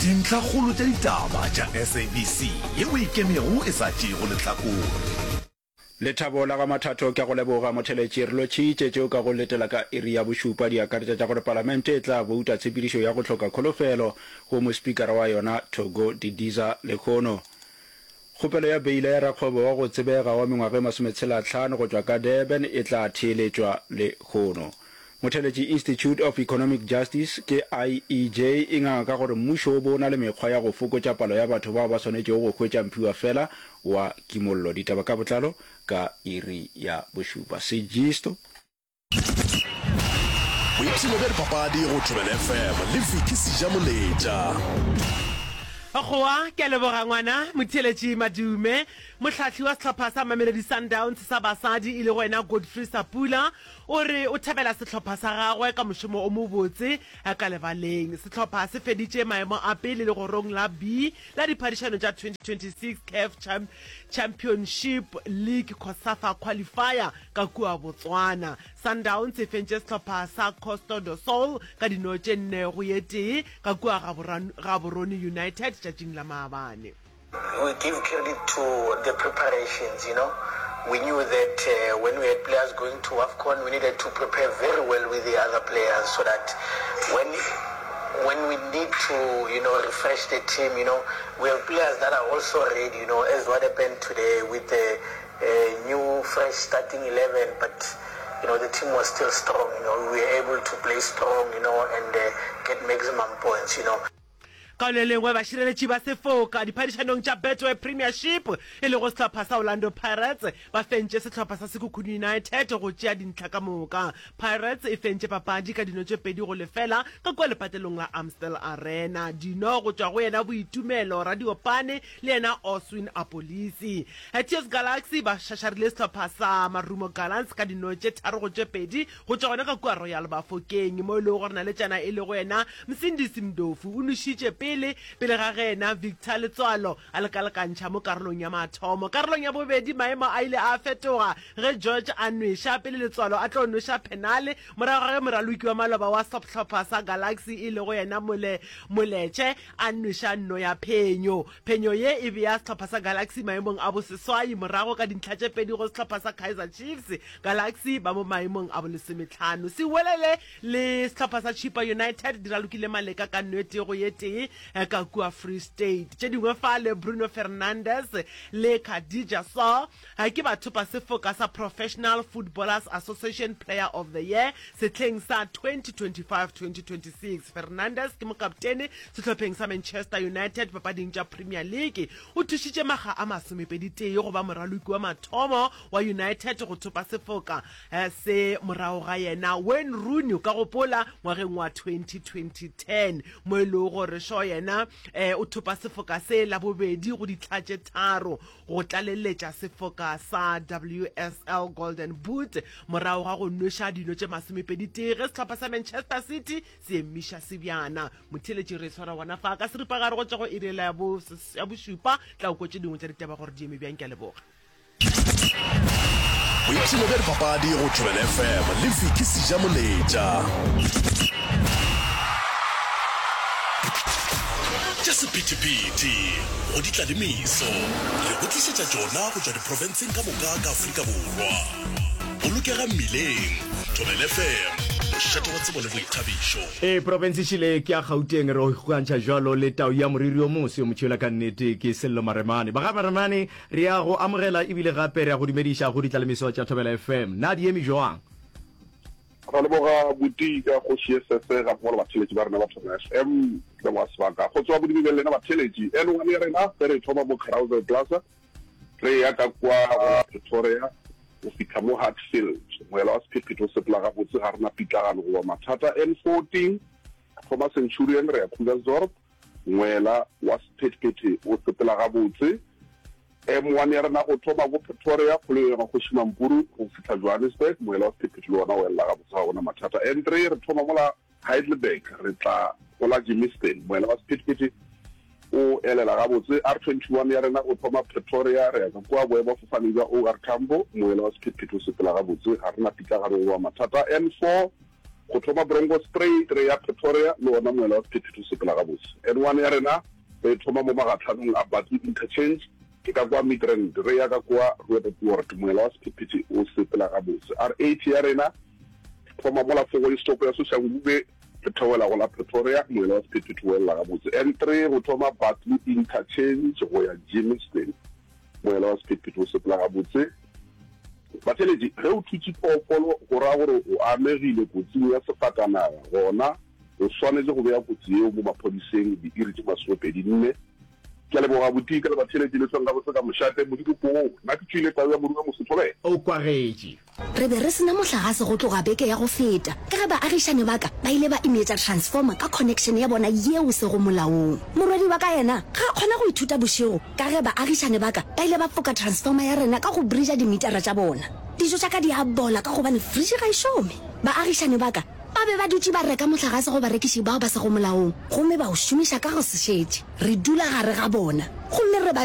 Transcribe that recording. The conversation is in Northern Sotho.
Dintlhakgolo tša ditaba tša SABC yeo e ikemego e sa tšeego lehlakore. Lethabo la ga Mathatho ke a go leboga Motheletši. Re lotšhitše tšeo ka go letela ka iri ya bošupa di akaretša tša gore Palamente e tla bouta tshepedišo ya go hloka kholofelo go mospikara wa yona Thoko Didiza lehono. Kgopelo ya beila ya rakgwebo wa go tsebega wa mengwaga e masometshelahlano go tšwa ka Durban e tla theeletšwa lehono. Motheletši Institute of Economic Justice ke IEJ e nganga ka gore mmušo o bo o na le mekgwa ya go fokotša palo ya batho bao ba swanetšego go hwetša mphiwafela wa kimollo. Ditaba ka botlalo ka iri ya bošupa. Sejisto. Boipshino bja dipapadi go Thobela FM le Vicky Sejamoletša. Goa, ke a leboga ngwana Motheeletši Madume. Mohlahli wa sehlopha sa Mamelodi Sundowns sa basadi e lego yena Godfrey Sapula o re o thabela sehlopha sa gagwe ka mošomo o mobotse ka lebaleng. Sehlopha se feditše maemo a pele legorong la B la diphadišano tša 2026 CAF Championship League COSAFA Qualifier ka kua Botswana. Sundowns e fentše sehlopha sa Costa do Sol ka dino tše nne go ye tee ka kua Gaborone United tšatšing la maabane. We give credit to the preparations, you know. We knew that uh, when we had players going to AFCON, we needed to prepare very well with the other players so that when when we need to, you know, refresh the team, you know, we have players that are also ready, you know, as what happened today with the uh, new, fresh starting 11, but, you know, the team was still strong, you know, we were able to play strong, you know, and uh, get maximum points, you know. Ka le lengwe, bašireletši ba sefoka diphadišanong tša Betway Premiership, e lego sehlopha sa Orlando Pirates, ba fentše sehlopha sa Sekhukhune United go tšea dintlha ka moka. Pirates e fentše papadi ka dino tše 2 go lefela ka kua lepatlelong la Amstel Arena. Dino go tšwa go yena Boitumelo Radiopane le yena Oswin Appollis. TS Galaxy ba šašarile sehlopha sa Marumo Gallants ka dino tše 3 go tše 2 go tšwa gona ka kua Royal Bafokeng mo e lego gore naletšana e lego yena Msindisi Mdofu o nwešitše pele pele ga ge yena Victor Letsoalo a lekalekantšha mo karolong ya mathomo. Karolong ya bobedi maemo a ile a fetoga ge George a nweša pele Letsoalo a tlo nweša phenale morago ga ge moraloki wa maloba wa sehlopha sa Galaxy e lego yena Mole Moletše a nweša nno ya phenyo. Phenyo ye e bea sehlopha sa Galaxy maemong a boseswai morago ka dintlha tše pedi go sehlopha sa Kaizer Chiefs. Galaxy ba mo maemong a bolesometlhano. Siwelele le sehlopha sa Chippa United di ralokile maleka ka nno e tee go ye tee ka kua Free State. Tše dingwe fale Bruno Fernandes le Khadija Saw ke bathopa sefoka sa Professional Footballers Association Player of the Year sehleng sa 2025-2026. Fernandes ke mokaptene sehlopheng sa Manchester United papading tša Premier League. O thušitše makga a masomepeditee go ba moraloki wa mathomo wa United go thopa sefoka se morago ga yena Wayne Rooney, o ka gopola, ngwageng wa 2010 mo e lego gore Shaw yena o thopa sefoka se la bobedi go ditlha tše tharo go tlaleletša sefoka sa WSL Golden Boot morago ga go nweša dino tše masomepeditee ge sehlopha sa Manchester City se emiša sebjana. Motheeletši re e swara gona fa ka seripagare go tšwa go iri yela ya bošupa. Tla o kwe tše dingwe tša ditaba gore di eme bjang. Ke a leboga. Boipshino bja dipapadi go Thobela FM le Vicky Sejamoletša. Tša sephethephethe go di tla le meso, re go tlišetša tšona go tšwa diprofenseng ka moka ka Afrika Borwa. Bolokega mmileng, Thobela FM, mošate wa tsebo le boithabišo. Ee, profense šele ke ya Gauteng, re kgokantšha bjalo le tau ya moriri o moso yo motšhwela ka nnete ke Sello Maremane. Ba ga Maremane, re ya go amogela ebile gape re ya go dumediša go ditlalemeso tša Thobela FM. Na di eme jwang? Ra leboga buti ka kgoši Sese ga mmogo le batheeletši ba rena ba Thobela FM. Ke leboga sebaka go tsoga bodibeng le lena batheeletši. N1 ya rena ge re thoma mo Carousel Plaza re ya ka kwa go la Pretoria go fihla mo Hatfield. Moela wa sephethephethe o sepela gabotse, ga re na pitlagano goba mathata. N14 thoma Centurion re ya Krugersdorp, moela wa sephethephethe o sepela gabotse. M1 ya rena go thoma ko Pretoria, kgoleng ya Kgoši Mampuru go fihla Johannesburg, moela wa sephethephethe le wona o elela gabotse, ga go na mathata. N3 re thoma mola Heidelberg re tla go la Germiston, moela wa sephethephethe o elela gabotse. R21 ya rena go thoma Pretoria re ya ka kua boemafofaneng bja OR Tambo, moela wa sephethephethe o sepela gabotse, ga re na pitlagano goba mathata. N4. Go thoma Bronkhorstspruit re ya Pretoria le wona moela wa sephethephethe o sepela gabotse. N1 ya rena re e thoma mo magatlhanong a Barkly Interchange ke ka kwa Midrand re ya ka kwa Roodepoort moela wa sephethephethe o sepela gabotse. R80 ya rena thoma mola Fogoe stop ya Soshanguve re theogela go la Pretoria moela wa sephethephethe o elela gabotse. N3 go thoma Barkly Interchange go ya Germiston Moela wa sephethephethe o sepela gabotse. Batheeletši, ge o thutše phoofolo go ra gore o amegile kotsing ya sefatanaga, gona o swanetše go bea kotsi yeo mo maphodiseng diiri tše masomepedi nne. Ke a leboga Botika le batheeletši le hlweng gabotse ka mošate. Modimo poo, nna ke tšwile tau ya morume Mosotho be. O kwagetše. Re be re se na mohlagase go tloga beke ya go feta ka ge baagišani ba ka ba ile ba imetša transformer ka connection ya bona yeo sego molaong. Morwedi wa ka yena ga a kgona go ithuta bošego ka ge baagišani ba ka ba ile ba foka transformer ya rena ka go bridger dimitara tša bona. Dijo tša ka di a bola ka gobane fridge ga e šome. Baagišani ba ka ba be ba dutše ba reka mohlagase go barekiši bao ba sego molaong gomme ba o šomiša ka go se šetše. Re dula gare ga bona gomme re ba.